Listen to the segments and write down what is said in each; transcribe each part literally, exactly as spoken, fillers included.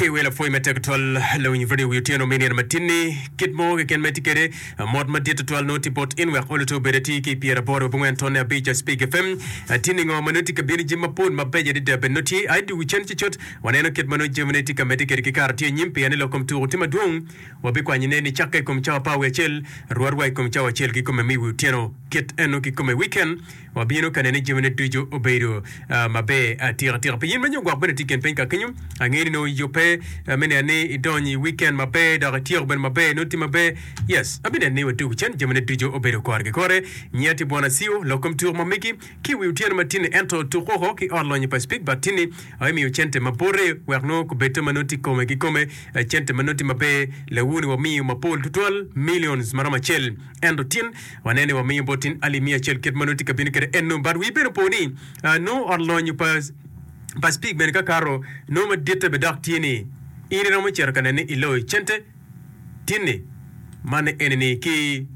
Ki welo pwoy matek twal lawiny radio wi otyeno me nino matinni kit mo keken ma itye kwede mot madit tutwal nongo tye bot in wek olo te obed atir ki pyeraboro abongwen tonne abic Speak FM tinni ngo ma nongo tye ka bino jami mapol mabeco adada bene nongo tye ai dugu cen cucut waneno kit ma nongo jamine tye ka medde kwede ki kare tye anyim pien ni lok kom tuko tye madwong wabikwanyone nicakke i kom cawa apar wiye acel rwot wa i kom cawa acel kikome me wi otyeno kit eno kikome weekend wabino ka nene jamine ducu obedo maber atika tika pi in ma nyo gwok bene tye i kin piny ka kenyo angeyo ni nongo iyubbe me neno ni idonyo i weekend maber dok ityeko bene maber nongo tye maber yes abineno ni watugo cen jamine ducu obedo kore ki kore nyiya tye bwana Acio lok kom tuko ma megi ki i wi otyeno ma tinni ento tuko oko ki ot lonyo pa Speak but tinni aye miyo cente ma bote wek nongo kubedde ma nongo tye kome ki kome cente ma nongo tye maber lawuni wamiyo mapol tutwal millions maromo acel ento tin waneno ni wamiyo bot tin alip miya acel kit ma nongo tye ka bino kwede eno but wii bene opo ni nongo ot lonyo pa pa Speak bene ka kato nongo maditte bene dok tye ni in iromo cito ka nene ni iloyo cente tinni man eni ni ki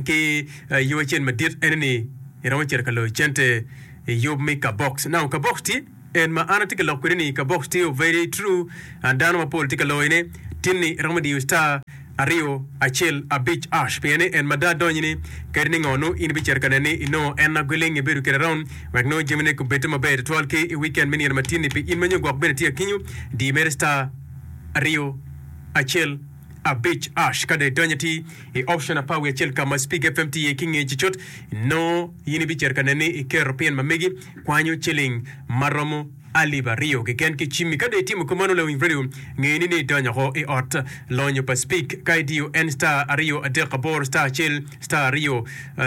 ki yo acel madit ene ni iromo cito ka loyo cente i yub me kabox. Now kabox tye en ma an atye ka lok kwede ni kabox tye very true and dano mapol tye ka loyone tinni iromo diyo star aryo acel abic ash pien ni en mada donyo ni kadi ni ngo nongo in ibicito ka nene ni inongo en aguling ibedo kwede around wek nongo jamine kubedde maber tutwal ki i weekend me nino matinni pi in ma nyo gwok bene tye akinyo di mere star aryo acel abic ash ka dong idonyo atir i option apar wiye acel ka ma Speak F M tye iye ki nge cucut nongo in ibicito ka nene ni iketo pin ma megi kwanyo ciling ma romo alip aryo keken ki cimmi. Ka dong itimo kumeno lawiny radio nge ni ni idonyo oko i ot lonyo pa Speak ka idiyo en star aryo adek aboro star acel star aryo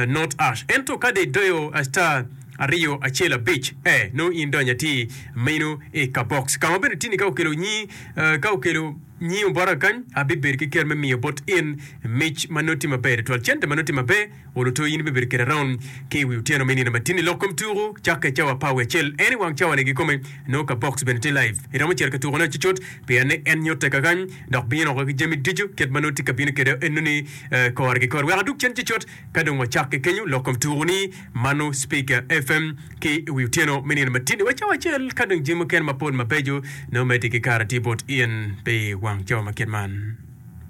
not ash ento ka dong idoyo star aryo acel abic eh nongo in idonyo atir meno i kabox ka ma bene tini ka okelo nyi ka okelo nyingo bota kany abibedo ki ker me miyo bot in mic ma nongo tye maber tutwal cente ma nongo tye maber olo to in ibibedo kwede around ki i wi otyeno me nino matin i lok kom tuku cakke cawa apar wiye acel en i wang cawa ni kikome nongo ka box bene tye live iromo cito ka tukone cucut pien ni en nyutte kakany dok bino oko ki jami ducu kit ma nongo tye ka bino kwede enoni kore ki kore wek adug cen cucut ka dong wacakke kenyo lok kom tuku ni mano Speak F M ki i wi otyeno me nino matin wa cawa acel ka dong jami mukene mapol mabeco nongo medde ki kare tye bot in pi wang cawa ma kit man.